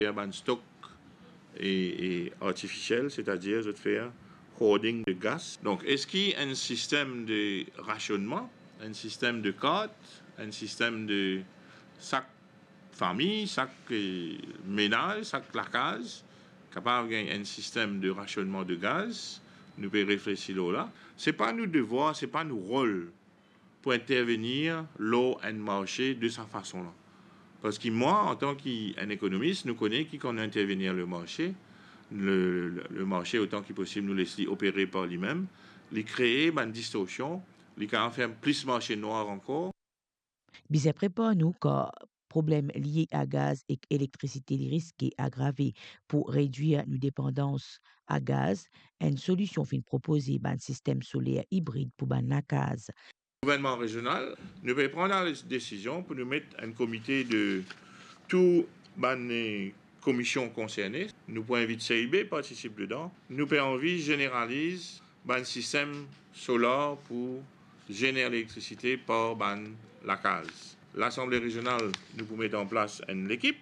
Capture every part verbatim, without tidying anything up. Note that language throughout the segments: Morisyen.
Fer bann stok e, e artifisiel, setadir zot fer hoarding de gas. Donk, eski enn sistem de rasionnman, enn sistem de kart, enn sistem de sak fami, sak, eh, menaz, sak lakaz, kapav gagn enn sistem de rasionnman de gaz, nou pe reflesi lor la. Se pa nou devwar, se pa nou rol pou intervenir lor enn marse de sa fason la. Parski mwa, antan ki enn ekonomis, nou kone ki kan nou intervenir le marse, le, le, le marse otan ki posib nou les li opere par limem, li kree bann distorsion, li kapav fer plis marse nwar ankor. Bizin prepar nou, kar problem lie a gaz ek elektrisite li riske agrave. Pou redwir nou depandans a gaz, enn solision finn propoze, bann sistem soler ibrid pou bann lakaz. Gouvernman rezional, nou pe pran la desizion pou nou met enn komite de tou bann, eh, komision konserne. Nou pou invit C I B partisip dedan. Nou pe anvi zeneraliz bann sistem solar pou zener elektrisite par bann lakaz. Lasanble rezional, nou pou met an plas enn lekip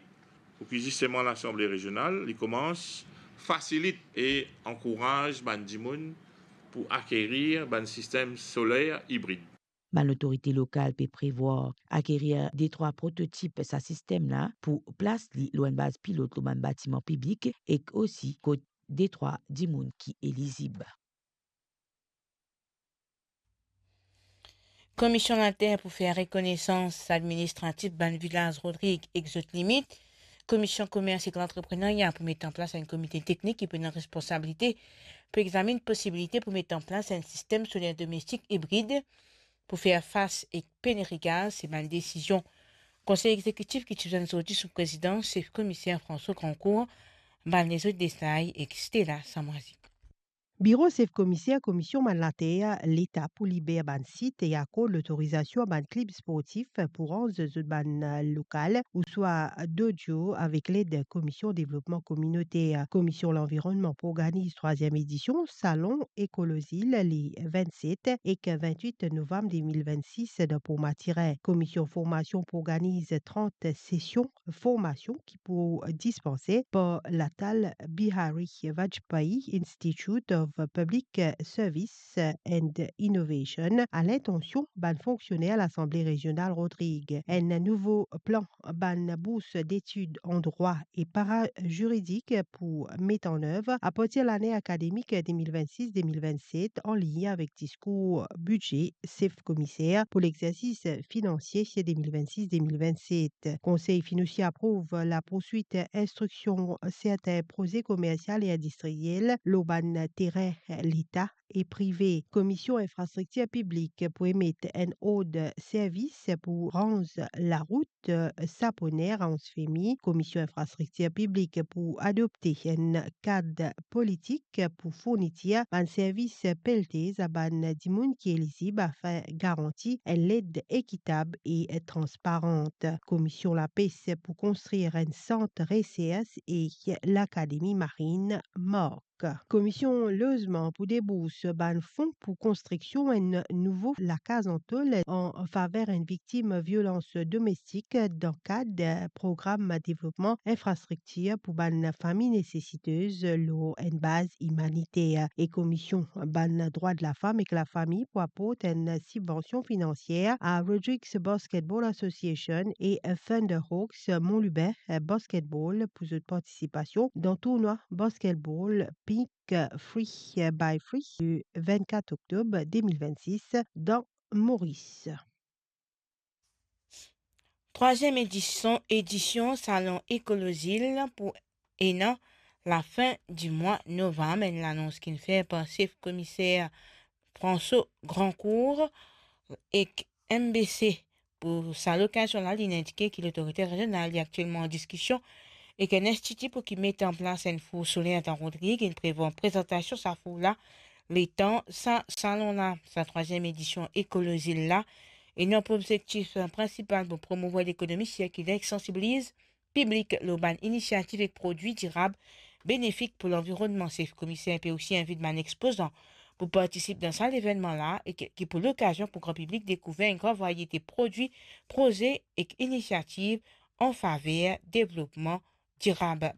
pou ki zisteman Lasanble rezional, li koumans fasilit e ankouraz bann dimoun pou akerir bann sistem soler ibrid. Bann lotorite lokal pe prevwar akerir detrwa prototip sa sistem la pou plas li lor enn baz pilot lor bann batiman piblik ek osi kot detrwa dimoun ki elizib. Komisionn Later pou fer rekonesans administratif bann vilaz Rodrig ek zot limit. Komisionn Komers ek Lantreprenarya pou met an plas enn komite teknik ki pou ena responsabilite pou examinn posibilite pou met an plas enn sistem soler domestik ibrid pou fer fas ek peneri gaz. Se bann desizion Konsey Egzekitif ki ti zwenn zordi sou prezidans sef komiser François Grandcourt. Bann lezot detay ek Stella Samwazi. Biro sef komiser Komision bann later Leta pou liber bann sit e akord lotorizasion a bann klib sportif pou ranz zot bann lokal ouswa dojo avek led Komision Devlopman Kominoter. Komision Lanvironnman pou organiz trwaziem edision Salon Ekolozil le vennset ek vennwit novam de mil vennsis dan Port Matirin. Komision Formasion pou organiz trant sesion formasion ki pou dispanse par l'Atal Bihari Vajpayee Institute of Public Service and Innovation, a lintansion bann fonksioner Lasanble Rezional Rodrig. Enn nouvo plan bann bours detid an drwa e paraziridik pou met an nev apartir lane akademik de mil vennsis de mil vennset, an lign avek diskour bidze sef komiser pou lexersis finansie de mil vennsis de mil vennset. Konsey finn osi aprouv lapouswit instriksion sertin proze komersial e indistriyel lor bann terin Leta e prive. Komision Infrastriktir Piblik pou emet enn ord servis pou ranz larout Saponer Anse Femi. Komision Infrastriktir Piblik pou adopte enn kad politik pou fournitir bann servis peltez a bann dimoun ki elizib afin garanti enn led ekitab e transparan. Komision Lapes pou konstrir enn sant resers e lakademi marin Mark. Komision Lozman pou debours bann fon pou konstriksion enn nouvo lakaz an tol an faver enn viktim violans domestik dan kad program devlopman infrastriktir pou bann fami nesesitez lor enn baz imaniter. E Komision bann drwa de lafam ek lafami pou aport enn sibvansion finansier a Rodrigues Basketball Association e Thunderhawks Mont Lubin Basketball pou zot partisipasion dan tournwa basketball Pink Free by Free le vennkat oktob de mil vennsis dan Moris. Trwaziem edision, edision Salon Ekolozil pou ena lafin di mwa novam, enn lanons ki'nn fer par sef komiser François Grandcourt ek M B C. Pou sa lokazion la, li'nn indike ki lotorite rezional li aktielman an diskision ek enn institi pou ki met an plas enn four soler dan Rodrig, inn prevwar prezantasion sa four la letan sa salon la, sa trwaziem edision Ekolozil la, ena pou obzektif prinsipal pou promouvoir lekonomi sirkiler ek sansibiliz piblik lor bann inisiativ ek prodwi dirab benefik pou lanvironnman. Sef komiser pe osi invit bann ekspozan pou partisip dan sa levennman la e ki, ki pou lokazion pou gran piblik dekouver enn gran varyete prodwi, proze ek inisiativ an faver devlopman dirab.